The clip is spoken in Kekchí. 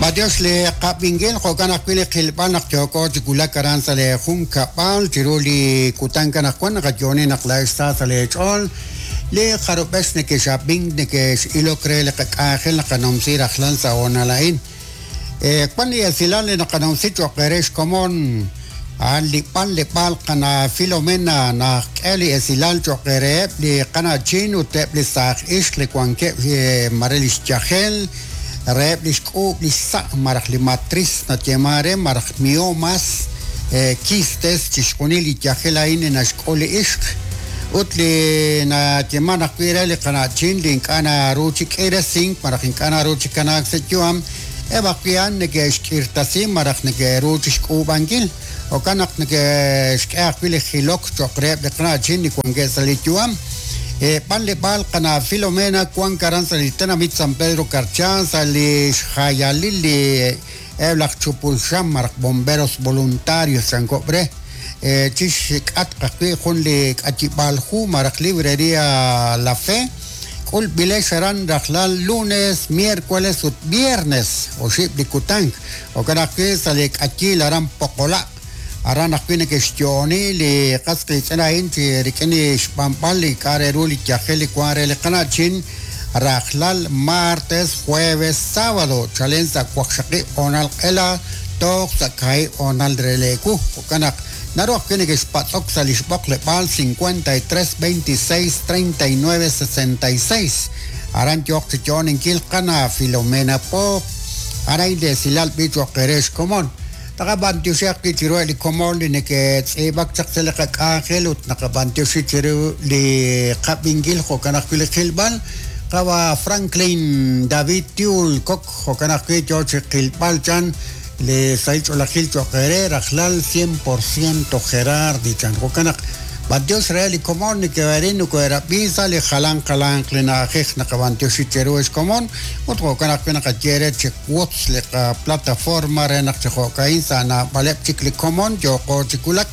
B'antiox li qab'inkil jo'kan ajwi' li qilb'al naq yooko chi wulak aran sa' lee junkab'al chiru li kutan anaqwan naqayo'oni naq laa'ex sa sa' lee ch'ool li jarub'ex nekex'ab'ink nekex'ilok re li qak'anjel naqanumsi rajlal sa' hoonal a'in. Wan li esilal li naqanumsi cho'q eere xkomon a'an li b'anleb'aal qana' Filomena naxk'e li esilal cho'q reheb' li qana'chin ut eb' li saaj ixq li wankeb' mare li xyajel reheb' li xk'uub' li xsa' malaj li matriz nayeeman re malaj miomas, quistes, chixjunil li yajel a'in li naxk'ul li ixq ut li nayeeman ajwi' re li qana'chin li ink'a' naru chi k'iiresink malaj ink'a' naru chi kanaak sa' yu'am, eb' ajwi' a'an neke'xk'irtasi malaj neke'ru chi xk'uub'ankil. Jo'kan naq neke'xk'e ajwi' li jilok cho'q reheb' li qana'chin li wankeb' sa' li yu'am. B'anleb'aal qana' Filomena wank aran sa' li tenamit San Pedro Carchá sa' li xjayalil li Eb' laj chupul xam malaj bomberos voluntarios chankob' re, chi xk'atq ajwi' jun li k'ayib'aal hu malaj librería La Fe, k'ulb'ilex aran rajlal lunes, miércoles ut viernes, oxib' li kutank. Jo'kan ajwi' sa' li k'ayiil aran Poqola'. Aran ajwi' neke'xyo'oni li qas qiitz'in a'in chi rik'in li xb'anb'al li k'a' re ru li yajel li wank re li qana'chin rajlal martes, jueves, sábado chalen sa' waqxaqib' hoonal q'ela toj sa' kaahib' hoonal re leewu. Jo'kan naq naru ajwi' neke'xpatz'ok sa' li xb'oqleb'aal 53 26 39 66. Aran yooq chi yo'oninkil qana' Filomena Poop. A'an a'in li esilal b'i cho'q eere xkomon. Taqab'antioxi ajwi' chiruheb' li komon li neke'tz'iib'ak chaq sa' li qak'anjel ut naqab'antioxi chiru li qab'inkil jo'kan ajwi' li qilb'al. Qawa' Franklin David Tiul Kok jo'kan ajwi' yoo chi qilb'al chan li sahil ch'oolejil cho'q eere rajlal cien por ciento Gerardi chan. Jo'kan naq b'antiox re li komon neke'erin nokohe'rab'i sa' li jalan jalanq li na'ajej naqab'antioxi cheru ex komon ut jo'kan ajwi' naqaye eere chi Wotz li qaplataforma re naq chi jo'ka'in sa' naab'aleb' chik li komon yooqo chi wulak.